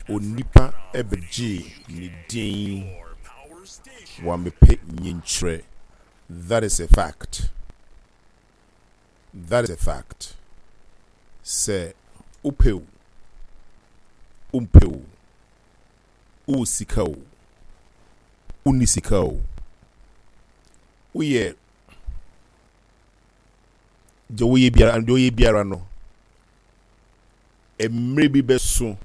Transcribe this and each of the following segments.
Onipa bɛgyee ne din wammɛpɛ nyinkyerɛ that is a fact that is a fact sɛ wopɛ o wompɛ o wowɔ sika o wonni sika o woyɛ deɛ woyɛ biara deɛ woyɛ biara no Mmerɛ bi bɛso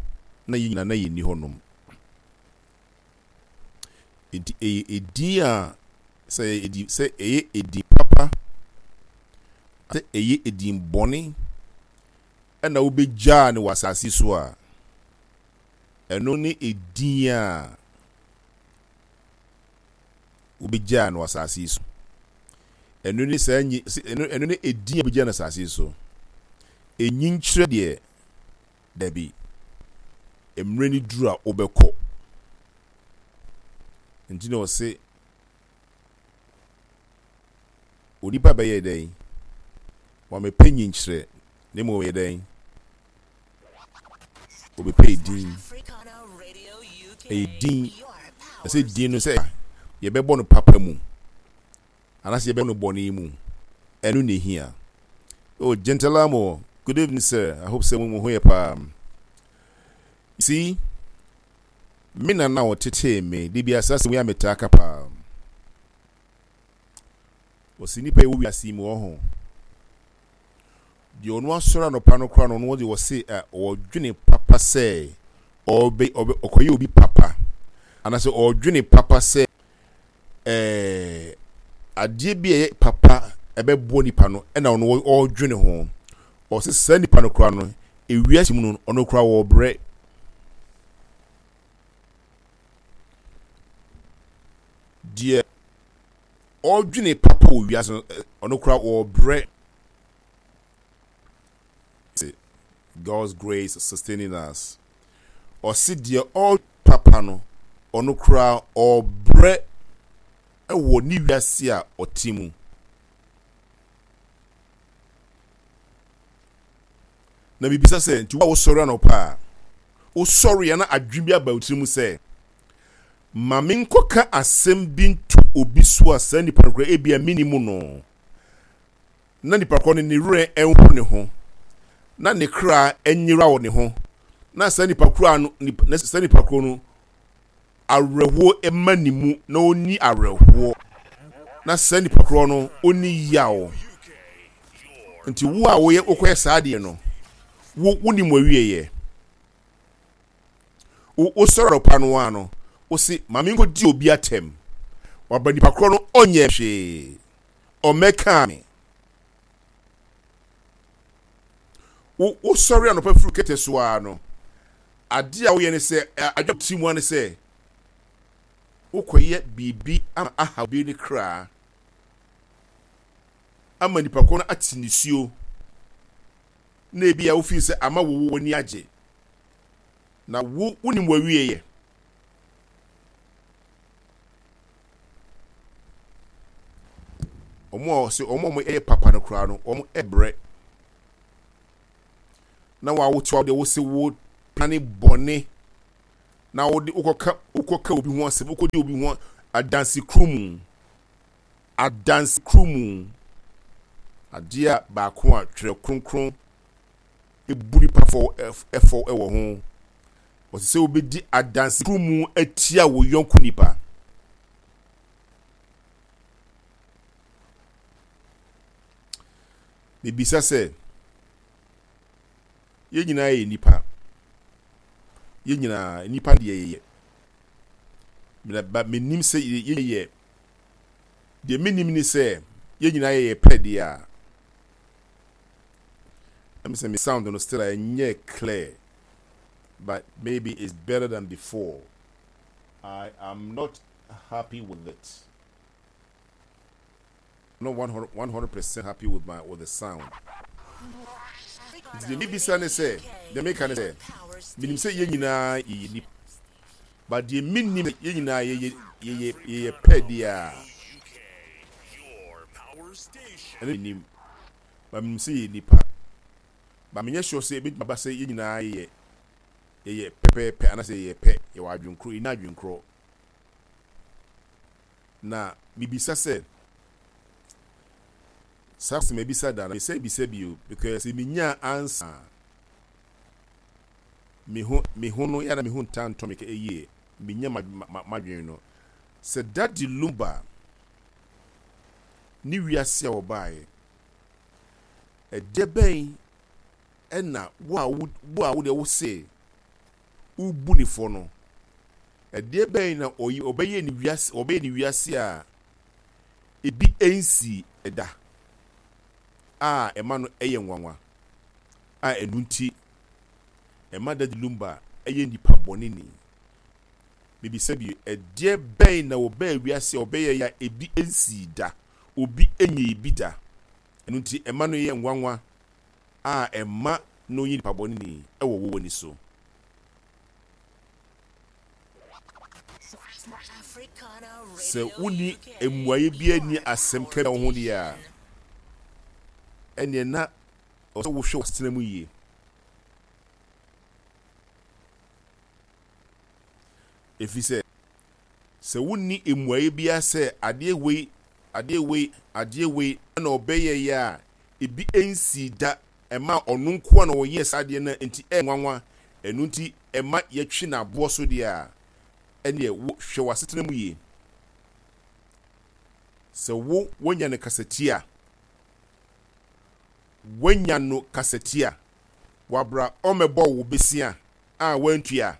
na yɛn nyinaa na yɛnni hɔnom. Enti ɛyɛ edin a sɛ ɛyɛ edin sɛ ɛyɛ edin papa sɛ ɛyɛ edin bɔne ɛna wobɛgyaa no wɔ asase so a, ɛno ne edin a wobɛgyaa no wɔ asase yi so. Ɛno ne saa nyi ɛno ɛno ne edin a wobɛgyaa no asase yi so. Enyinkyerɛ deɛ, dabi. Mmerɛ no duru a wobɛkɔ. Nti na ɔse onipa bɛyɛ dɛn? Wamɛpɛ nyinkyerɛ, na mmom ɔyɛ dɛn? Ɔbɛpɛ edin. Ɛyɛ din. Ɛsɛ din no sɛ yɛbɛbɔ no papa mu anaasɛ yɛbɛbɔ no bɔne mu. Ɛno na ehia. Oh, Gentilamo, good evening, sir. I hope sɛ mo ho yɛ paa. You see, me nana a ɔtetee me, de bi asa asɛm yi a metaa ka paa. Ɔsi nipa yi wɔ wiase yi mu ɔho. Deɛ ɔno asɔre anɔpa no koraa no, ɔno deɛ ɔse ɛ, ɔdwene papa sɛ ɔbɛ, ɔbɛ, ɔkɔyɛ obi papa. Anaasɛ ɔdwene papa sɛ ɛɛ, adeɛ bi a ɛyɛ papa ɛbɛboa nipa no, ɛna ɔno ɔdwene ho. Ɔse saa nipa no koraa no, ewiase mu no, ɔno koraa ɔbrɛ. Deɛ ɔdwene papa wɔ wiase no, ɔno koraa ɔbrɛ. God's grace sustaining us. Ɔse deɛ ɔ papa no, ɔno koraa ɔbrɛ wɔ ne wiase a ɔte mu. Na mebisa sɛ, nti wo a wosɔre anɔpa a, wosɔre a na adwene bi aba wo tirim sɛ, Ma menkɔka asɛm bi nto obi so a saa nipa no koraa ebia minnim no, na nipa korɔ no ne werɛ nho ne ho, na ne kra nyera wɔ ne ho, na saa nipa korɔ no, na saa nipa korɔ no awerɛhoɔ mma ne mu na ɔnni awerɛhoɔ, na saa nipa korɔ no ɔnni yaw. Nti wo a woyɛ wokɔyɛ saa adeɛ no, wo wonim w'awieɛ. Wo wosɔre anɔpa no ara no, wose ma menkɔdi obi atɛm. Waba nipa korɔ no ɔnyɛ hwee, ɔmmɛkaa me. Wo wosɔre anɔpa firi kɛtɛ so ara no, adeɛ a woyɛ ne sɛ, adwene ti mu ara ne sɛ, wokɔyɛ biribi ama aha obi ne kra, ama nipa korɔ no ate nisuo, na ebi a wofii sɛ ama wo w'ani agye. Na wo wonim w'awieɛ. Wɔn a wɔse wɔn a wɔyɛ papa no koraa no, wɔn brɛ. Na wɔawotew deɛ wose wo plane bɔne na wode wokɔka wokɔka obi ho asɛm wokɔdi obi ho adanse kuru mu adanse kuru mu adeɛ a baako a twerɛ kronkron bu nipa fɔ fɔ wɔ ho. Wɔsɛ sɛ wobɛdi adansekuru mu atia wo yɔnko nipa. Mebisa sɛ, yɛn nyinaa yɛ nipa. Yɛn nyinaa, nipa deɛ yɛyɛ. Ba menim sɛ yɛyɛ, deɛ menim ne sɛ yɛn nyinaa yɛyɛ pɛ deɛ a, Let me say my sound no still ɛnyɛ clear but maybe it's better than before. I am not happy with it. Not 100 percent happy with my with the sound. Nti deɛ mebisa ne sɛ, deɛ meka ne sɛ, menim sɛ yɛn nyinaa yɛyɛ nipa. But deɛ menim sɛ yɛn nyinaa yɛyɛ yɛyɛ yɛyɛ pɛ deɛ a, ɛno menim. But menim sɛ yɛyɛ nipa. But menyɛ sure sɛ ebetumi aba sɛ yɛn nyinaa yɛ. Yɛyɛ pɛpɛɛpɛ anaasɛ yɛyɛ pɛ, yɛwɔ adwene korɔ, yɛnni adwene korɔ. Na mebisa sɛ, saa question mabisa da na mesan bisa bio because sɛ menyaa answer a, me ho me ho no yɛ na me ho ntaa ntɔ me yie, menya m'adwene no. Sɛ Daddy Lumba ne wiase a wɔbaeɛ, ɛdeɛ bɛn na wo a wo a wo deɛ wo se wobu ne fɔ no, ɛdeɛ bɛn na ɔyi ɔbɛyɛ ne wiase ɔbɛyɛ ne wiase a ebi nsii da a ɛma no yɛ nwanwa a ɛno nti ɛma Daddy Lumba yɛ nipa bɔne ni. Mebisa bio, ɛdeɛ bɛn na ɔbaa wiase a ɔbɛyɛeɛ a ebi nsii da, obi nyɛɛ bi da, ɛno nti ɛma no yɛ nwanwa a ɛma no yɛ nipa bɔne ni wɔ wo ani so? Sɛ wonni mmuaeɛ biara nni asɛm ka biara ho deɛ a, ɛnneɛ na ɛwɔ sɛ wohwɛ w'asetena mu yie. Ɛfiri sɛ, sɛ wonni mmuaeɛ biara sɛ adeɛ wei, adeɛ wei, adeɛ wei na ɔbɛyɛeɛ a ebi nsii da, ɛmaa ɔno nko ara na ɔyɛɛ saa adeɛ no nti ɛyɛ nwanwa, ɛno nti ɛma yɛtwe no aboɔ so deɛ a, ɛnneɛ wo, hwɛ w'asetena mu yie. Sɛ wo, woanya no kasatia, woanya no kasatia, wabra ɔmmɛbɔ wo besia a woantua.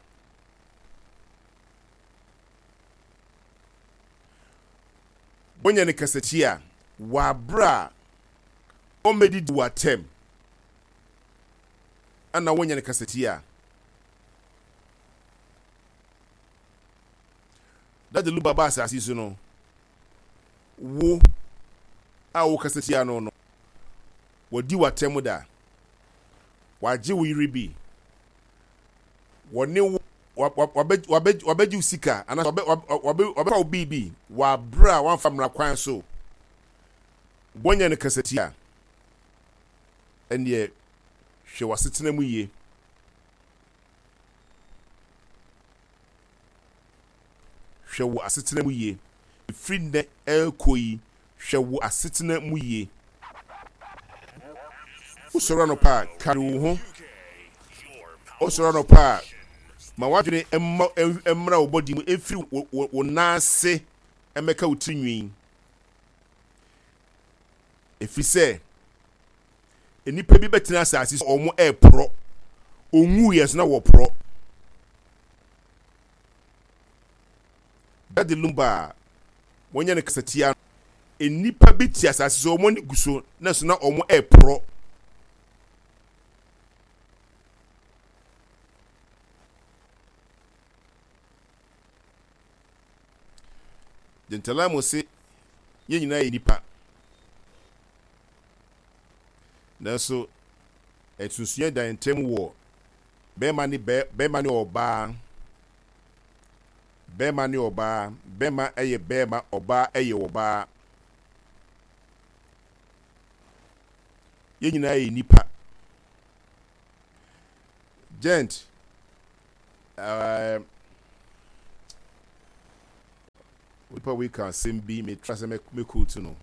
Woanya no kasatia, wabra ɔmmɛdidi wo atɛm, ɛna woanya no kasatia. Daddy Lumba baa asase so no, wo a wokasa tia no no, wadi w'atɛm da, wagye wo yere bi, wɔne wo wabɛgye wo sika anaasɛ wabɛfa wo biribi wɔ abere a wamfa mmara kwan so. Woanya no kasatia, ɛnneɛ hwɛ w'asetena mu yie. Hwɛ wo asetena mu yie. Ɛfiri nnɛ rekɔ yi, hwɛ wo asetena mu yie. Wosɔre anɔpa a, kari wo ho. Wosɔre anɔpa a, ma w'adwene mma mmra wo bɔdi mu, mfiri wo nan ase mmɛka wo tiri nwi. Ɛfiri sɛ, nnipa bi bɛtena asase so wɔn reporɔ. Wɔnwuiɛ nso na wɔporɔ. Daddy Lumba a wɔnyɛ no kasatia no, nnipa bi te asase so wɔn ani gu so na so na wɔn reporɔ. Gentalamo se yɛn nyinaa yɛ nnipa. Nanso nsonsonoeɛ da yɛn ntam wɔ bɛrima ne bɛ bɛrima ne ɔbaa, bɛrima ne ɔbaa, bɛrima yɛ bɛrima, ɔbaa yɛ ɔbaa. Yɛn nyinaa yɛ nnipa. Gent, ɛɛ onipa wei ka asɛm bi, metra sɛ mɛkootu no.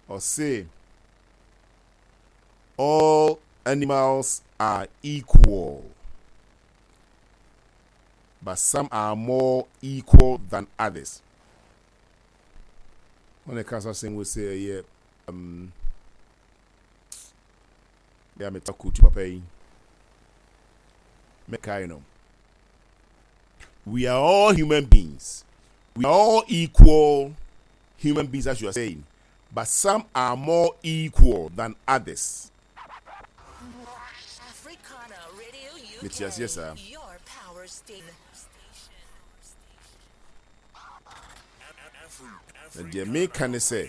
Ɔse, all animals are equal, but some are more equal than others. Wɔn ɛka saa asɛm wei sɛ ɛyɛ um, yɛ a meta kootu papa yi mɛkae no. We are all human beings. We are all equal human beings, as you are saying, but some are more equal than others. Mete aseɛ saa. Na deɛ meka ne sɛ,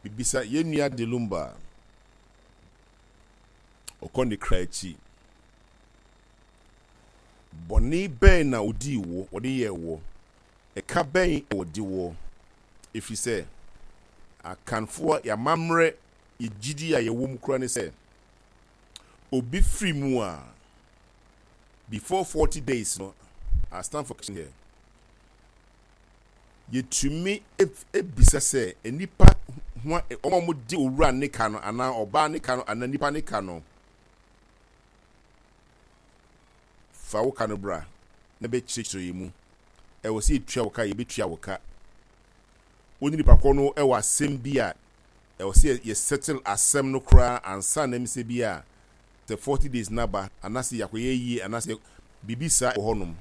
mebisa yɛn nua Delumba a ɔkɔ ne kra akyi, Bɔne bɛn na ɔdii wo, ɔde yɛɛ woɔ? Ɛka bɛn na ɔde woɔ? Ɛfiri sɛ, Akanfoɔ, yɛn amammerɛ. Yɛ gyidi a yɛwɔ mu koraa ne sɛ, obi firi mu a, before 40 days no, I stand for correction here, yɛtumi bisa sɛ nnipa ho a wɔn a wɔde owura ne ka no anaa ɔbaa ne ka no anaa nipa ne ka no, fa wo ka no bra na bɛkyerɛkyerɛ yɛn mu. Ɛwɔ sɛ yɛtua wo ka, yɛbɛtua wo ka. Wo ne nipa korɔ no wɔ asɛm bi a ɛwɔ sɛ yɛ settle asɛm no koraa ansa na ɛmi sɛ bi a sɛ 40 days no aba anaasɛ yɛakɔyɛ yie anaasɛ biribi saa wɔ hɔnom.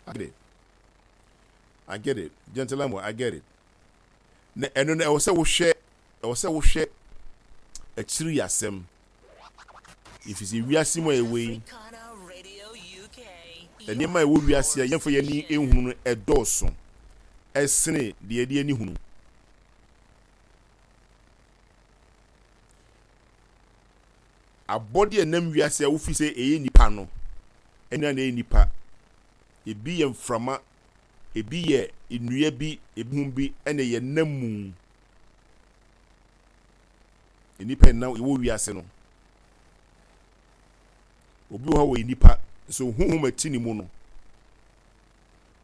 I get it. I get it. Gentleman, I get it. Na ɛno no ɛwɔ sɛ wohwɛ ɛwɔ sɛ wohwɛ akyiri asɛm. Ɛfiri sɛ wiase mu a yɛwɔ yi, nneɛma a ɛwɔ wiase a yɛmfa yɛn ani nhunu no ɛdɔɔso ɛsene deɛ yɛde ani hunu. Abɔde a ɛnam wiase a wofi sɛ ɛyɛ nipa no, ɛnyɛ na ɛyɛ nipa. Ebi yɛ mframa, ebi yɛ nnua bi, ebi ho bi ɛna ɛyɛ nam mu. Nnipa ɛnam ɛwɔ wiase no. Obi wɔ hɔ a wɔyɛ nipa, nso honhom ɛte ne mu no,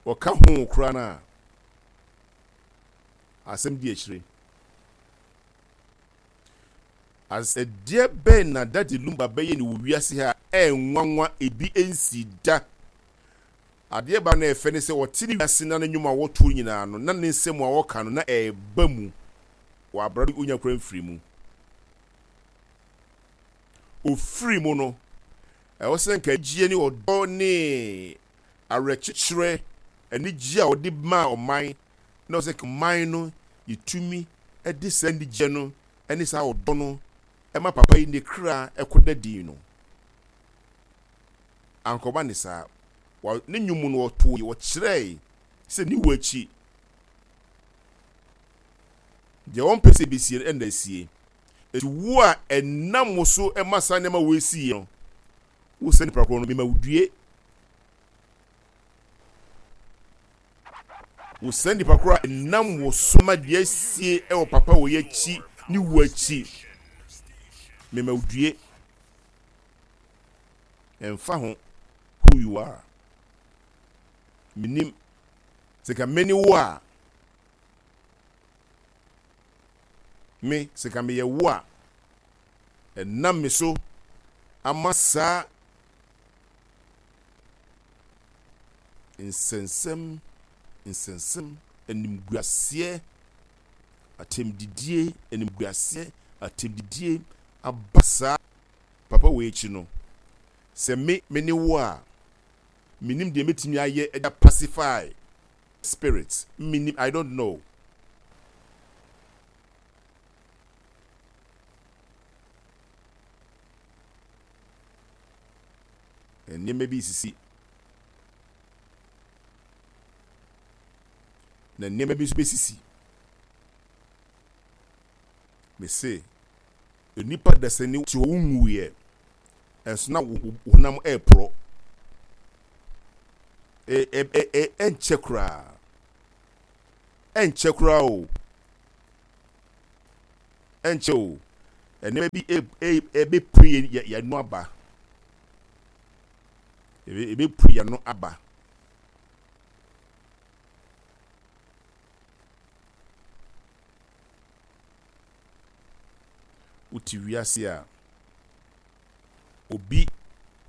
ɔka ho koraa no a, asɛm di akyire. Asɛdeɛ bɛn na Daddy Lumba bɛyɛ no wɔ wiase ha a ɛnwanwa ebi nsii da? Adeɛ baako na ɛfɛ ne sɛ ɔte ne wiase na ne nnwom a wɔtoɔ nyinaa no na ne nsɛm a ɔka no na ɛreba mu wɔ abra no ɔnya koraa mfiri mu. Ɔfiri mu no, ɛwɔ sɛ nka anigyeɛ ne ɔdɔ ne awerɛkyekyerɛ, anigyeɛ a ɔde maa ɔman na ɛwɔ sɛ ɔman no yɛtumi de saa anigyeɛ no ne saa ɔdɔ no ma papa yi ne kra kɔda din no. Ankɔba ne saa. Wa, ne nnwom mu no ɔtoo, ɔkyerɛe sɛ ne wu akyi, deɛ ɔmpɛ sɛ ɛbɛsie no ɛna asie. Enti wo a ɛnam wo so ma saa nneɛma wei siiɛ no, wo sɛ nipa korɔ no, mema wo due. Wo saa nipa korɔ a ɛnam wo so ma deɛ asie wɔ papa wei akyi ne wu akyi, mema wo due. Ɛmfa ho who you are. Menim sɛ ka me ne wo a, me sɛ ka meyɛ wo a, ɛnam me so ama saa nsɛnsɛm, nsɛnsɛm, animguaseɛ, atɛmdidie, animguaseɛ, atɛmdidie aba saa papa wei akyi no, sɛ me me ne wo a, mennim deɛ mɛtumi ayɛ de apacify spirit, mennim, I don't know. Nneɛma bi resisi, na nneɛma bi nso bɛsisi. Mese, nnipa dasani te hɔ wonwuiɛ, nso na wo honam reporɔ. Ɛnkyɛ koraa, ɛnkyɛ koraa o, ɛnkyɛ o, nneɛma bi ɛbɛpue yɛn ano aba. Ɛbɛpue yɛn ano aba. Wote wiase a, obi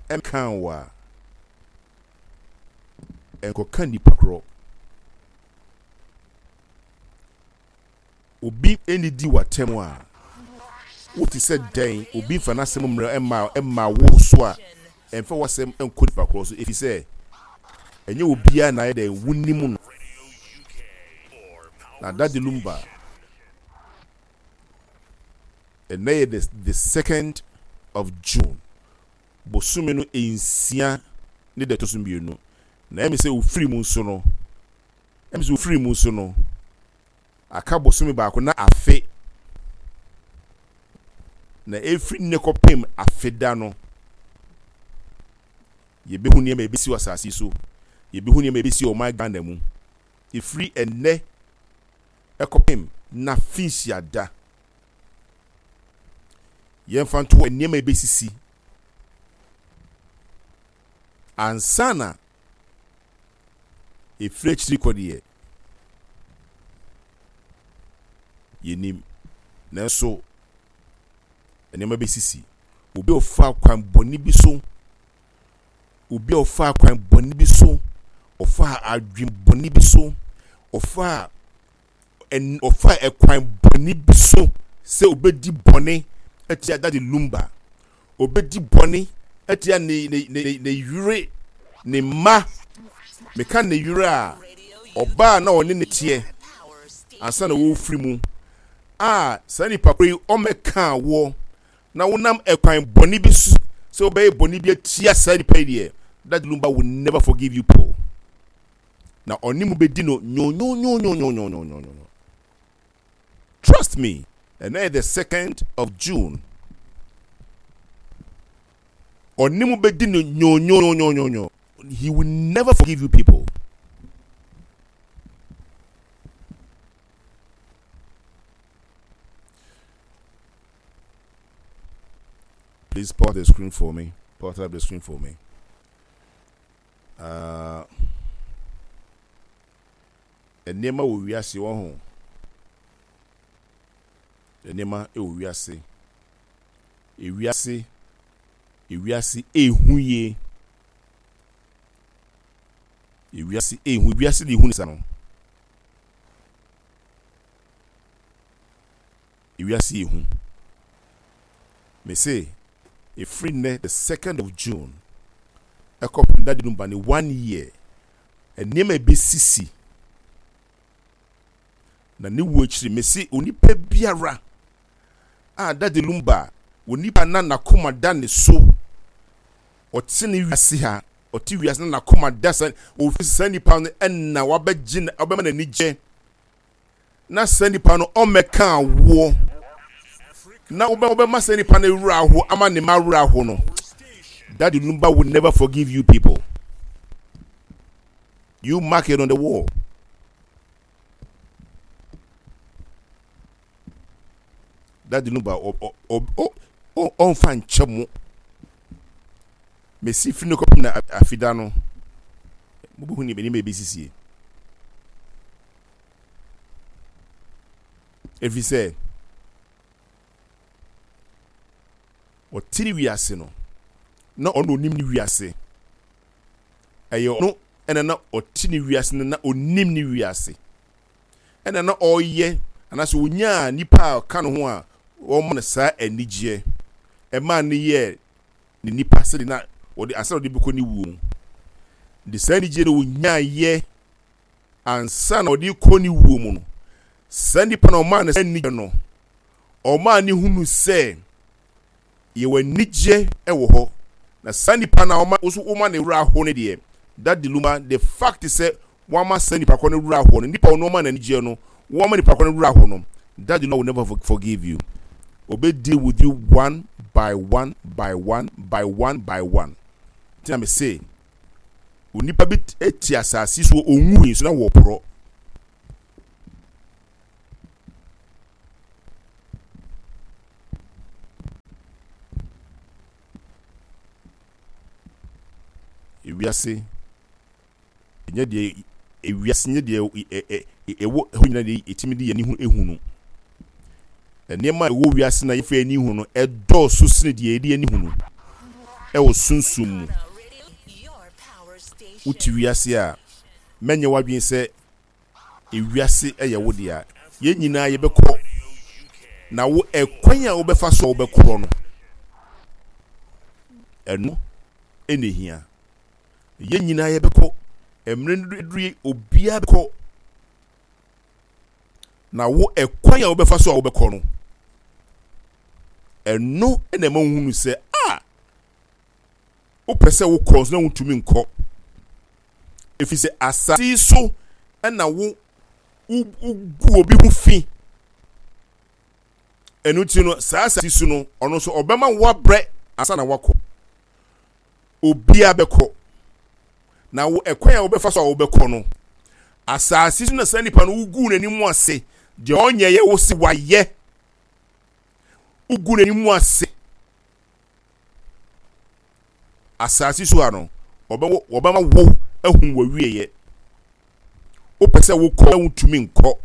nkaa wo a, nkɔka nnipa korɔ. Obi nnidi w'atɛm a, wote sɛ dɛn? Obi mfa n'asɛm mmrɛ mma mma wo so a, mfa w'asɛm nkɔ nipa korɔ so, efisɛ ɛnyɛ obiara na ayɛ dɛn wonim no. Na Daddy Lumba, ɛnnɛ yɛ the the second of June, bosome no nsia ne da ɛtɔ so mmienu, na ɛmi sɛ ofiri mu nso no, ɛmi sɛ ofiri mu nso no, Aka bosome baako na afe, na ɛfiri nnɛ kɔpem afe da no, yɛbɛhu nneɛma a ɛbɛsi wɔ asase yi so, yɛbɛhu nneɛma a ɛbɛsi wɔ ɔman Ghana mu. Ɛfiri ɛnnɛ Ɛkɔpem n'afenhyia da. Yɛmfa nto hɔ nneɛma a ebesisi ansa na efiri akyiri kɔ deɛ, yennim. Nanso nneɛma besisi. Obi a ɔfa kwan bɔne bi so, obi a ɔfa kwan bɔne bi so, ɔfa adwene bɔne bi so, ɔfa ɔfaa ɛkwan bɔne bi so sɛ obedi bɔne atia Daddy Lumba, obedi bɔne atia ne ne ne ne yere, ne mma. Meka ne yere a, ɔbaa na ɔne ne teɛ ansa na wɔrefiri mu a saa nipa koro yi ɔmmɛkaa woɔ na wonam ɛkwan bɔne bi so sɛ wobɛyɛ bɔne bi atia saa nipa yi deɛ, Daddy Lumba will never forgive you people. na ɔne mo bɛdi no nyonyonyonyonyonyonyo. Trust me, ɛnɛ yɛ the second of June. Ɔne mo bɛdi no nyonyonyonyonyo. He will never forgive you people. Please pause the screen for me. Pause up the screen for me. Ah, nneɛma wɔ wiase wɔ ho. Nneɛma wɔ wiase. Ewiase, ewiase ehu yie. Ewiase ehu, ewiase de ehu ne sa no. Ewiase yɛ hu. Mese ɛfiri nnɛ the second of June ɛkɔpem daddy no ba ne one year nneɛma ɛbɛsisi na ne wuo akyiri mese onipa biara a daddy lumba onipa na n'akoma da ne so ɔte ne wiase ha ɔte wiase na n'akoma da sa ofi saa nipa no ɛna wabɛgye wabɛma n'ani gye na saa nipa no ɔmmɛka awoɔ na wobɛma saa nipa no werɛ aho ama ne ma werɛ aho no Daddy Lumba will never forgive you people. You mark it on the wall. Daddy Lumba ɔmfa nkyɛ mo. Mesi firi no kɔpem na afida no mobɛhu ne nneɛma ɛbɛsisie. Ɛfiri sɛ, ɔte ne wiase no, na ɔno ɔnim ne wiase. Ɛyɛ ɔno ɛna na ɔte ne wiase no na ɔnim ne wiase. Ɛna na ɔyɛ anaasɛ ɔnyaa nipa a ɔka ne ho a wɔma no saa anigyeɛ. Ɛmaa no yɛɛ ne nipa sɛdeɛ na ɔde ansa na ɔde bɛkɔ ne wuo mu. De saa anigyeɛ no ɔnyaeɛ ansa na ɔde rekɔ ne wuo mu no, saa nipa na ɔmaa no saa anigyeɛ no, ɔmaa ne hunu sɛ yɛwɔ anigyeɛ wɔ hɔ. Na saa nipa na ɔma nso woma ne werɛ aho no deɛ, that diluma, the fact sɛ wama saa nipa kɔ no werɛ aho no, nipa ɔno ɔma n'anigyeɛ no, wama nipa kɔ no werɛ aho no, that diluma will never forgive you. Obe deal with you one by one by one by one by one. Tina me say, Onipa bi te asase so onwui nso na wɔporɔ. Ewiase nyɛ deɛ ewiase nyɛ deɛ ɛwɔ hɔ nyinaa deɛ yɛtumi de yɛn ani hu ehu no. Nneɛma a ɛwɔ wiase na yɛfa yɛn ani hu no ɛdɔɔso sene deɛ yɛde yɛn ani hu no ɛwɔ sunsum mu. Wote wiase a, mɛnyɛ w'adwene sɛ ewiase yɛ wo dea. Yɛn nyinaa yɛbɛkɔ, na wo ɛkwan a wobɛfa so a wobɛkorɔ no, ɛno na ehia. Yɛn nyinaa yɛbɛkɔ, mmerɛ no aduru yi, obiara bɛkɔ. Na wo ɛkwan a wobɛfa so a wobɛkɔ no, ɛno na ɛma wohunu sɛ a wopɛ sɛ wokɔ nso na wontumi nkɔ. Ɛfiri sɛ asase yi so na wo wogu obi ho fi. Ɛno nti no, saa asase so no, ɔno nso ɔbɛma woabrɛ ansa na woakɔ. Obiara bɛkɔ. Na wo ɛkwan a wobɛfa so a wobɛkɔ no, Asase so na saa nipa no woguu n'anim ase, deɛ ɔnyɛ yɛ wo se wayɛ. Wogu n'anim ase. Asase so ha no, wɔbɛma wo ahu w'awieɛ. Wopɛ sɛ wokɔ na wontumi nkɔ.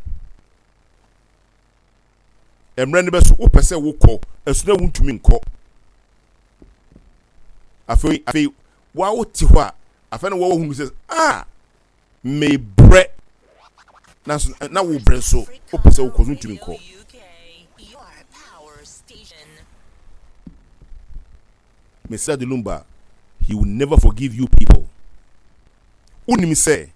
Mmerɛ no bɛso wopɛ sɛ wokɔ ɛso na wontumi nkɔ. Afei afei wa wote hɔ a afei na wɔhunu sɛ ah mebrɛ nanso na wo brɛ nso wopɛ sɛ wokɔ so ntumi nkɔ. Mr. Delumba, he will never forgive you people. Wonim sɛ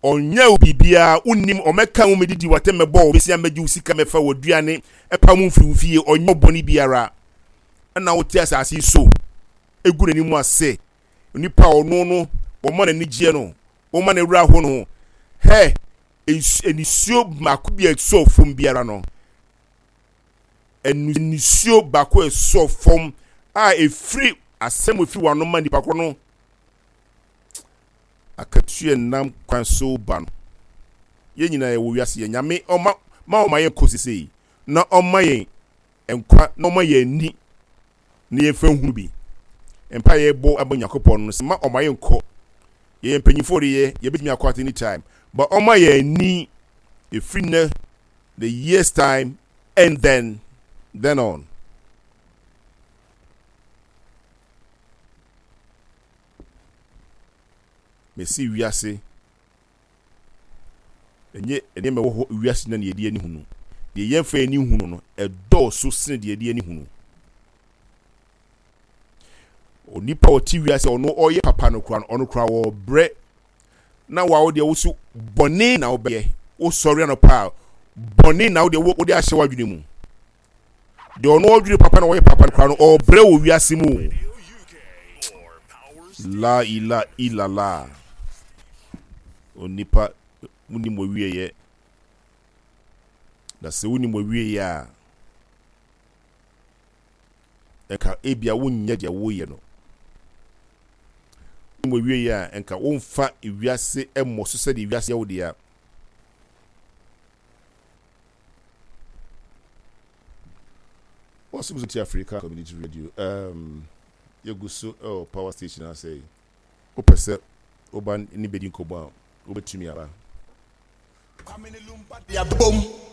ɔnyɛ wo biribiara, wonnim, ɔmɛka wo mɛdidi w'atɛm mɛbɔ wo bɛsia mɛgye wo sika mɛfa w'aduane ɛpa mu mfiri wo fie, ɔnyɛ wo bɔne biara. Ɛna wote asase yi so egu n'anim ase Onipa a ɔno no wɔma n'ani gyeɛ no, wɔma ne werɛ aho no ho. Hɛ, nisuo baako bi a ɛsɔɔ fam biara no, nisuo baako a ɛsɔɔ fam a ɛfiri asɛm a ɛfiri w'ano ma nipa korɔ no, akatua nam kwan so ba no. Yɛn nyinaa yɛwɔ wiase yɛ nyame ɔma ma ɔma yɛn kɔ sesei na ɔma yɛn nkwa na ɔma yɛn ani na yɛmfa nhunu bi. Mpae a yɛbɔ ama Onyankopɔn no sɛ mma ɔmma yɛnkɔ. Yɛyɛ mpanyimfo de yɛ, yɛbɛtumi akɔ at any time. But ɔmma yɛn ani ɛfiri nnɛ, the years time and then, then on. Mesi wiase Ɛnyɛ nneɛma ɛwɔ hɔ wiase na yɛde ani hunu. Deɛ yɛmfa yɛn ani nhunu no, ɛdɔɔso sene deɛ yɛde ani hunu. Onipa a ɔte wiase a ɔno ɔyɛ papa no koraa no, ɔno koraa ɔrebrɛ. Na wa wo deɛ wo so bɔne na wobɛyɛ. Wosɔre anɔpa a, bɔne na wo deɛ wode ahyɛ w'adwene mu. Deɛ ɔno ɔdwene papa na ɔyɛ papa no koraa no, ɔrebrɛ wɔ wiase mu. La ila ilala. Onipa wonim w'awieɛ. Na sɛ wonim w'awieɛ a, ɛnka ebia wonyɛ deɛ woyɛ no. Wonim w'awieɛ a, ɛnka womfa wiase mmɔ so sɛdeɛ wiase yɛ wo dea. Wɔsom so ti Africa Community Radio. Um, yɛgu so ɛwɔ power station ase yi. Wopɛ sɛ woba ne bɛdi nkɔmmɔ a, wobɛtumi aba. Kwame ne Lumba de abom.